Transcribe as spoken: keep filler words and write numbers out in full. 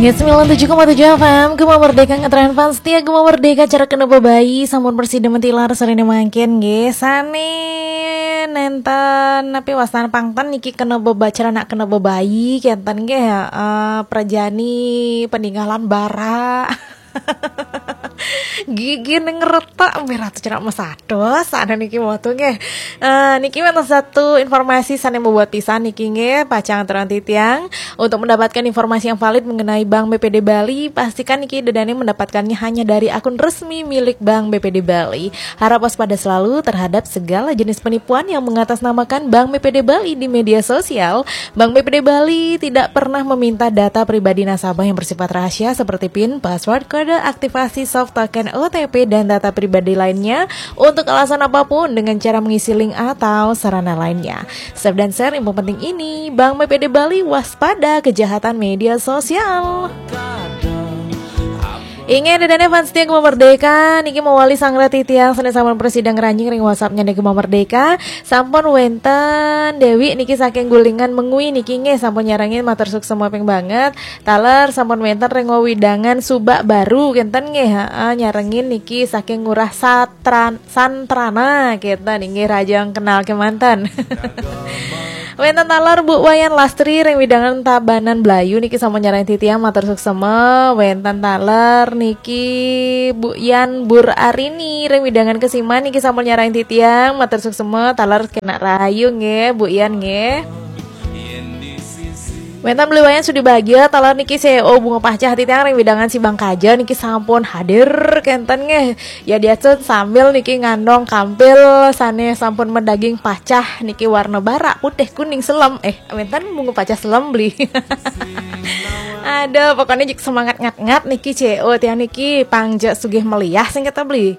Nggih, sembilan tujuh koma tujuh F M, Gema Merdeka, ngetren fans setia Gema Merdeka, cara kena bebayi, sampun prasida mentilar sarene mangkin nggih. Sane nenten napi wastan pangten niki kena beba-, cara nak kena bebayi kenten nggih, heeh, prajani peninggalan bara. Gigi ning retak, miratu cerak mesados, sana niki watu nggih. Eh, niki wonten satu informasi sane bobot pisan niki nggih, pacang terang titiang. Untuk mendapatkan informasi yang valid mengenai Bank B P D Bali, pastikan niki dedane mendapatkannya hanya dari akun resmi milik Bank B P D Bali. Harap waspada selalu terhadap segala jenis penipuan yang mengatasnamakan Bank B P D Bali di media sosial. Bank B P D Bali tidak pernah meminta data pribadi nasabah yang bersifat rahasia seperti pin, password, kode aktivasi, soft token, O T P, dan data pribadi lainnya untuk alasan apapun dengan cara mengisi link atau sarana lainnya. Save dan share info penting ini. Bank B P D Bali, waspada kejahatan media sosial. Inggih, dedane fans setia Gema Merdeka, niki mewali sanggra titiang sane sampun prasida ngranjing ring WhatsApp-nya niki Gema Merdeka. Sampun wenten Dewi niki saking Gulingan Mengwi niki nggih, sampun nyarengin, matur suksma ping banget. Taler sampun wenten ring wewidangan Subak Baru kenten nggih, heeh, nyarengin niki saking Ngurah Satran Santrana kenten nggih, raja kenal kemanten. Wenten taler Bu Wayan Lastri ring wewidangan Tabanan Blayu niki sampun nyarengin titiang, matur suksma. Wenten taler niki Bu Yan Bur Arini ring wewidangan Kesiman niki sampun nyarengin titiang, matur suksma. Taler kenak rahayu nggih Bu Yan nggih. Wenten Beli Wayan Sudi Bagia, taler niki C E O Bunga Pacah titiang ring wewidangan Sibang Kaja niki sampun hadir kenten nggih. Ya diasun sambil niki ngandong kampil sane sampun medaging pacah niki warna bara, putih, kuning, selem. Eh, wenten Bunga Pacah selem beli. Aduh, pokoknya jik semangat ngat-ngat niki C E O tiang niki pangja sugih meliah sing kata beli.